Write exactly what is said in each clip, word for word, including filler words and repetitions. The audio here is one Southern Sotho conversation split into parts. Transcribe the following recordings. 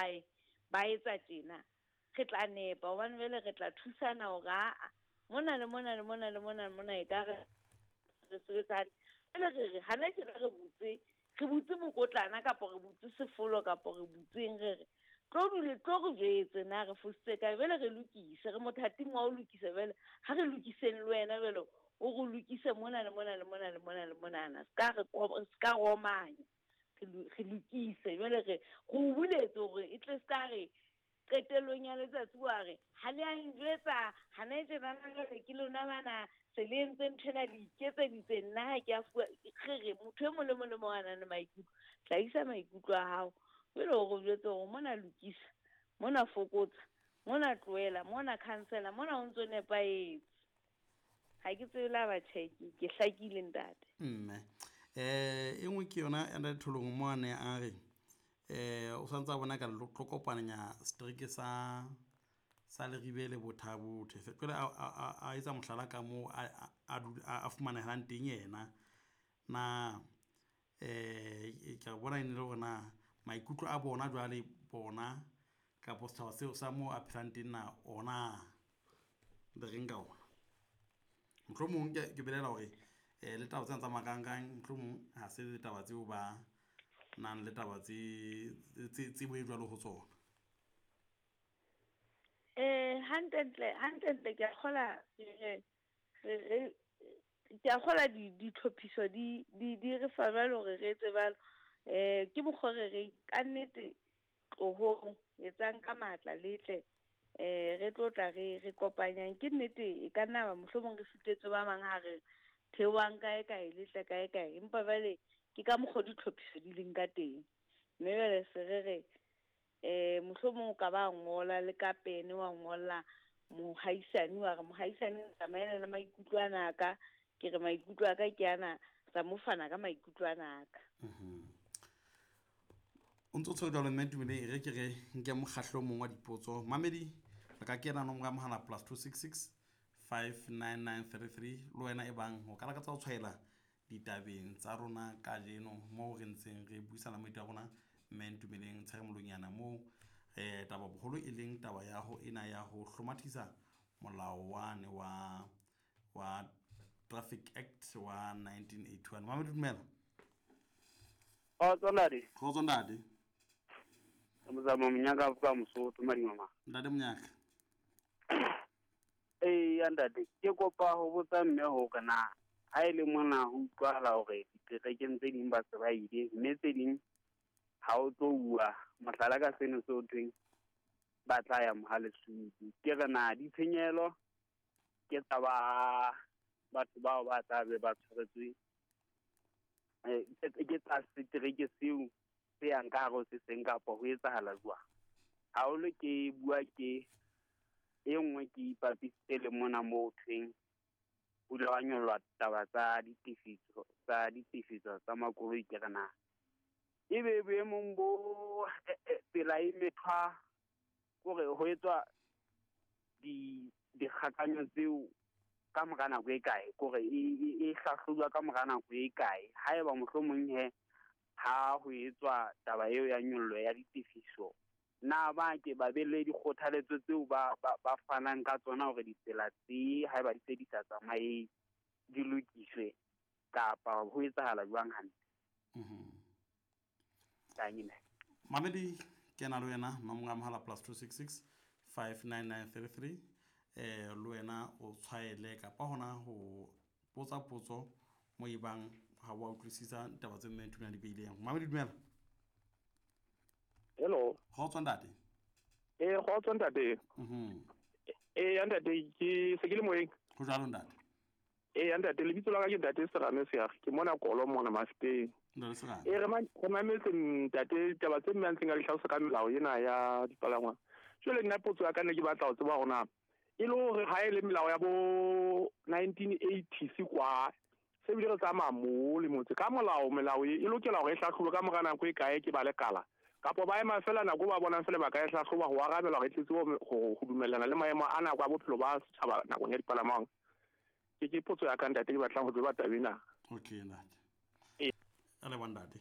hae ba etsa tjena re tla nepa hobane jwale re tla thusana hore aa mona le mona le mona le mona le mona e ka re re sebetsa jwale re re hana tjena re butse re butse mokotlana kapa re butse sefolo kapa re butseng re re tlo dule tlo re jwetse na re fositse kae jwale re lokise re mothating wa ho lokisa jwale ha re lokiseng le wena jwale o re lokise mona le mona le mona le mona le monana se ka re se ka romanya re lokise jwale re go buletse hore e tle se ka re qetellong ya letsatsi wa re ha le a njwetsa hana tjena jwale ke lona bana se le entse nthwena le iketseditse nna ha ke a fuwa re re motho e mong le mong le mong a nang le maikutlo hlahisa maikutlo a hao jwale o re jwetse hore mona lokisa mona fokotsa mona tlohela mona cancela mona o ntso nepahetse. Ha ke tsebe la batjha ke hlakile ntate. Mme eh e nngwe ke yona ya ntate Tholong mo a ne a re eh o santse a bona ka tlo kopanya strike sa sa Leribe le Bothabothe jwale a a etsa mohlala ka moo a a fumanelang teng yena na eh ke a bona e ne le hore na maikutlo a bona jwale bona kapo setjhaba seo sa moo a phelang teng na ona le reng ka ona. Mohlomong ke ke belela hore eh le taba tsena tsa marangrang mohlomong ha se le taba tseo ba nang le taba tse tsebo e jwalo ho tsona. Eh hantlentle hantlentle ke a kgola re re ke a kgola di ditlhophiso di di di re fa jwalo hore re etse jwalo. Eh ke mokgwa re re ka nnete tlohong etsang ka matla le tle eh re tlo tla re re kopanyang ke nnete e ka nna ba mohlomong re sitetse ba bang ha re theohang kae kae le tle kae kae empa jwale ke ka mokgwa ditlhophiso di leng ka teng mme jwale se re re eh mohlomong o ka ba ngola le ka pene wa ngolla mohaisane wa re mohaisane tsamaela le maikutlo ana ka ke re maikutlo a ka ke ana tsa mo fana ka maikutlo ana ka. Mhm. O ntso tshwere jwalo mme Tumelo e re ke re nke mokgahlo o mong wa dipotso mamedi re ka kena nomoro ya mohala plus two six six five nine nine three three le wena e bang o ka lakatsa ho tshwaela ditabeng tsa rona kajeno moo re ntseng re buisana moeti wa rona mme Ntumeleng Tsheremolonyana moo eh taba boholo e leng taba ya ho ena ya ho hlomathisa molao wane wa wa Traffic Act wa nineteen eighty-one. Mamedi dumela. Kgotso ntate. Kgotso ntate. Mozamo Monyaka ka Mosotho Madimama. Ntate Monyaka. Eh ya ntate ke kopa ho botsa mme hore na ha e le mona ho utlwahala hore diterekeng tse ding ba se ba ile mme tse ding ha o tlo bua mohlala ka seno se o thweng ba tla ya Mohalesuku ke re na ditshenyehelo ke tsa ba batho bao ba tla be ba tshwaretswe eh ke tsa setereke seo se yang ka hare ho se seng kapa ho etsahala jwang. Haholo ke bua ke e nngwe ke ipapisitse le mona moo thweng ho ile hwa nyollwa taba tsa ditefiso tsa ditefiso tsa makoloi ke re na ebe boemong bo tsela e methwa kore ho etswa di dikgakanyo tseo ka mora nako e kae kore e hlahlojwa ka mora nako e kae haeba mohlomong he ha ho etswa taba eo ya nyollo ya ditefiso na ba ke ba be le dikgothaletso tseo ba ba fanang ka tsona hore ditsela tse haeba di se di sa tsamaye di lokiswe kapa ho etsahala jwang hantle. Mhm. Tanyina. Mamedi ke na le wena nomoro ya mohala plus two six six five nine nine three three eh le wena o tshwaele kapa hona ho potsa potso mo e bang ha wa utlwisisa taba tse mme Ntumela di beileng. Mamedi dumela. Hello. Kgotso ntate. Eh kgotso ntate. Mhm. Eh ntate ke se ke le moyeng. Ho jwalo ntate. Eh ntate lebitso la ka ke ntate Serame Seag ke mona Kolo mona Mafeteng. Ntate Serame. Eh re ma mametse ntate taba tse mme a ntseng a di hlalosa ka melao ena ya dipalangwang. Jwale nna potso ya ka ne ke batla ho tseba hore na e le hore ha e le melao ya bo nineteen eighty kwa se bile re tsamaya mo le motse ka molao melao e lokela hore e hlahlobe ka mora nako e kae ke ba lekala kapa ba ema fela nako ba bonang fela ba ka e hlahloba ho arabela hore e tletse ho dumellana le maemo a nako a bophelo ba setjhaba nakong ya dipalamang. Ke ke potso ya ka ntate ke batlang ho tseba taba ena. Okay ntate. Eh a le ntate.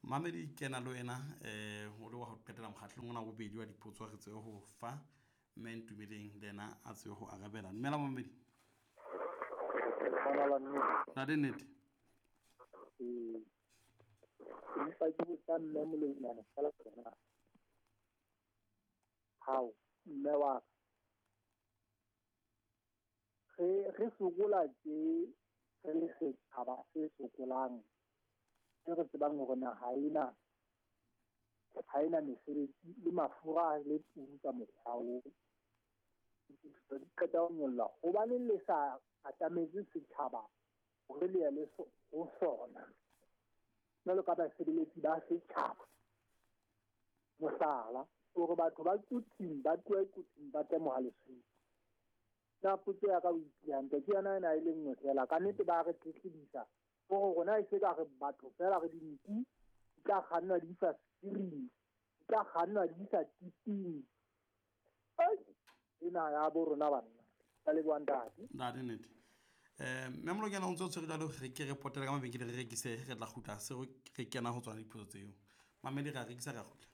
Mamedi kena le wena eh o le wa ho qetela mokgatlong ona wa bobedi wa dipotso re tsebe ho fa mme Ntumeleng le yena a tsebe ho arabela. Dumela mamedi. Na le nnete? Ee. Empa ke botsa mme Molonyana fela tsona. Hao, mme wa ka. Re re sokola tje re le setjhaba se sokolang. E re tsebang hore naha ena ha ena mesebetsi le mafura le turu ka mokgwa oo. Di qeta ho nyolla hobaneng le sa atametse setjhaba hore le ye le ho sona jwalo ka basebeletsi ba setjhaba. Mohlala, hore batho ba Quthing ba tlohe Quthing ba tle Mohale'shoek. Na potso ya ka o itse hantle ke yona ena e le nngwe fela. Ka nnete ba re tletlebisa hore rona e se ka re batho fela re dinku di tla kgannwa di isa sefiring, di tla kgannwa di isa tiping. Ena ya bo rona banna. Ka leboha ntate. Ntate nnete. Eh mme Molonyana o ntse o tshwere jwalo re ke re potela ka mabenkele re rekise re tla kgutla se re kena ho tsona dipotso tseo. Mamedi re a rekisa re a kgutla.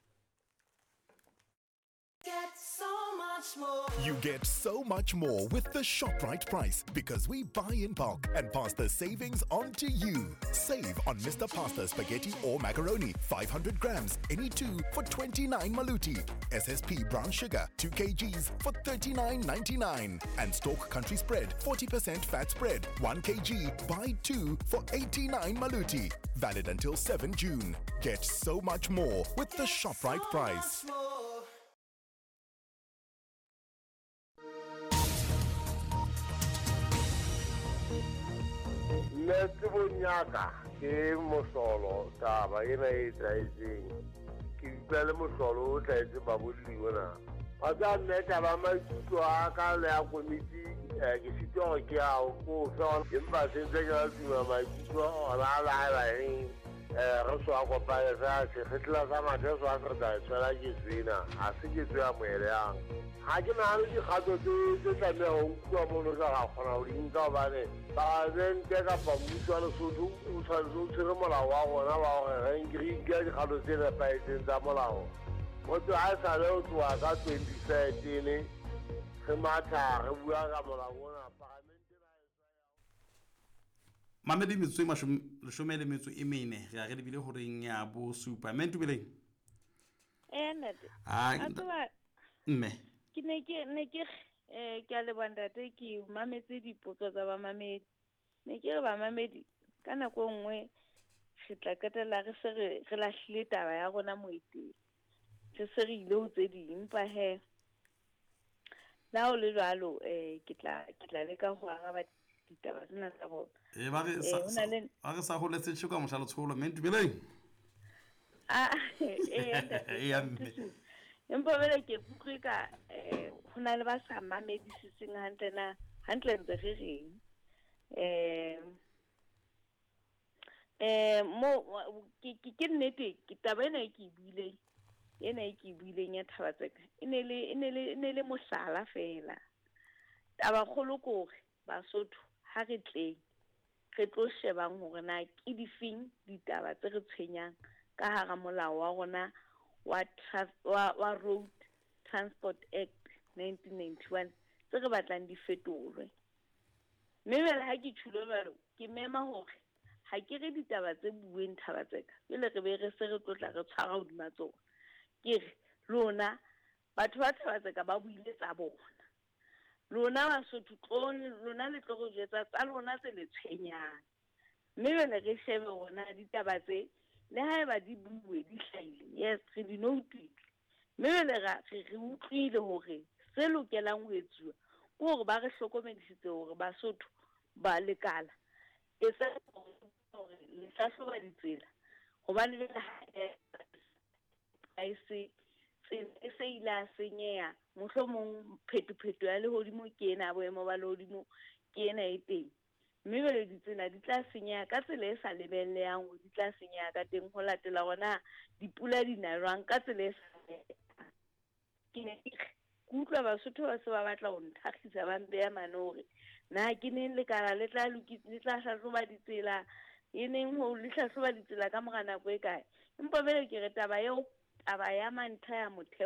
You get so much more with the ShopRite price because we buy in bulk and pass the savings on to you. Save on Mister Pasta spaghetti or macaroni, five hundred grams, any two for twenty-nine maluti. S S P brown sugar, two kilograms for thirty-nine ninety-nine. And Stork Country Spread, forty percent fat spread, one kilogram, buy two for eighty-nine maluti. Valid until seventh June. Get so much more with the ShopRite price. Nna tsebong ya ka ke mohlolo taba ena e tlwaetseng. Ke utlwa le mohlolo o tlwaetseng babolli ona. Wa tseba mme taba ya maikutlo a ka le ya komiti ke sitwa hore ke ao ko fe empa se ntse ke la tuma maikutlo ona a laela eng re so a kopane fela sekgetla sa mathe so a se re tla e tshwela ketso ena ha se ketso ya moeleyang. Ha ke nahane dikgato tse tse tlameha ho nkuwa mono tla ra kgona ho di nka hobane palamente kapa mmuso wa Lesotho o tshwanetse o tshwere molao wa rona wa hore re nke dikgato tse nepahetseng tsa molao. Motho ha e sale ho tloha ka twenty thirteen re matha re bua ka molao ona palamente. Mamedi metsotso e mashome leshome le metso e mene re a re lebile horeng ya bosupa. Mme Ntumeleng. Eh ntate. Ah mme ke ne ke ne ke eh ke a leboha ntate ke mametse dipotso tsa bamamedi. Ne ke re bamamedi ka nako e nngwe re tla qetella re se re re lahlile taba ya rona moeteng. Re se re ile ho tse ding empa he la ho le jwalo eh ke tla ke tla leka ho araba ditaba tsena tsa bona. Eh ba re sa ba re sa holetse tjho ka mohla letsholo mme Ntumeleng. Ah eh eh mme empa vele ke utlwe ka eh ho na le ba sa mamedisiseng hantle na hantle ntse re reng eh eh mo ke ke nnete ke taba ena e ke buileng ena e ke buileng ya thaba tseka e ne le e ne le e ne le mohlala fela. Taba kgolo ke hore Basotho ha re tleng re tlo shebang hore na ke difeng ditaba tse re tshwenyang ka hara molao wa rona wa wa wa Road Transport Act nineteen ninety-one tse re batlang di fetolwe. Mme jwale ha ke tjhulo jwalo ke mema hore ha ke re ditaba tse bueng thaba tseka jwale re be re se re tlotla re tshwara hodima tsona. Ke re lona batho ba thaba tseka ba buile tsa bona. Lona Basotho tlo lona le tlo re jwetsa tsa lona tse le tshwenyang. Mme jwale re shebe hore ditaba tse le haeba di bue di hlahile yes re di noutile mme jwale re re utlwile hore se lokelang ho etsuwa ke hore ba re hlokomedisitse hore Basotho ba lekala e sa hore le hlahloba ditsela hobane jwale ha e se tsela e se ile a senyeha mohlomong phetopheto ya lehodimo ke ena boemo ba lehodimo ke ena e teng. Mme jwale ditsela di tla senyeha ka tsela e sa lebellehang hore di tla senyeha ka teng ho latela hore dipula di na jwang ka tsela e sa. Ke ne ke utlwa Basotho ba se ba batla ho nthakgisa ba mpeya mane hore na ke neng lekala le tla le tla hlahloba ditsela e neng ho le hlahloba ditsela ka mora nako e kae. Empa jwale ke re taba eo, taba ya mantlha ya motheo.